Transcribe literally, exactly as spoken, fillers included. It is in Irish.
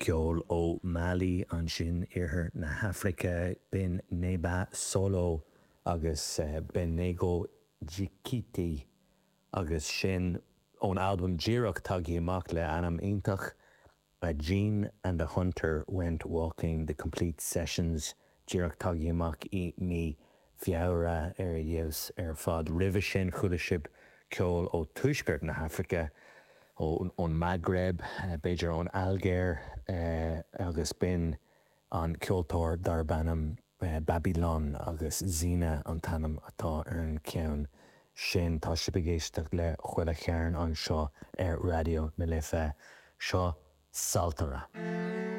Ceol ó Mali ansin, iarthar na hAfraice, b'in Neba Solo agus Benego Djikiti agus sin ón albam díreach tagtha amach le ainm iontach Jean and the Hunter Went Walking, The Complete Sessions, díreach tagtha amach i mí Feabhra, ar fheabhas ar fad. Roimhe sin chuala sibh ceol ó tuaisceart na hAfraice, ón Maghreb, b'fhéidir ón Ailgéir, agus b'in an ceoltóir darb ainm Babylon agus Zina an t-ainm atá ar an cheann sin. Tá sibh ag éisteacht le Chuile Chearn anseo ar Raidió na Life. Seo Saltara.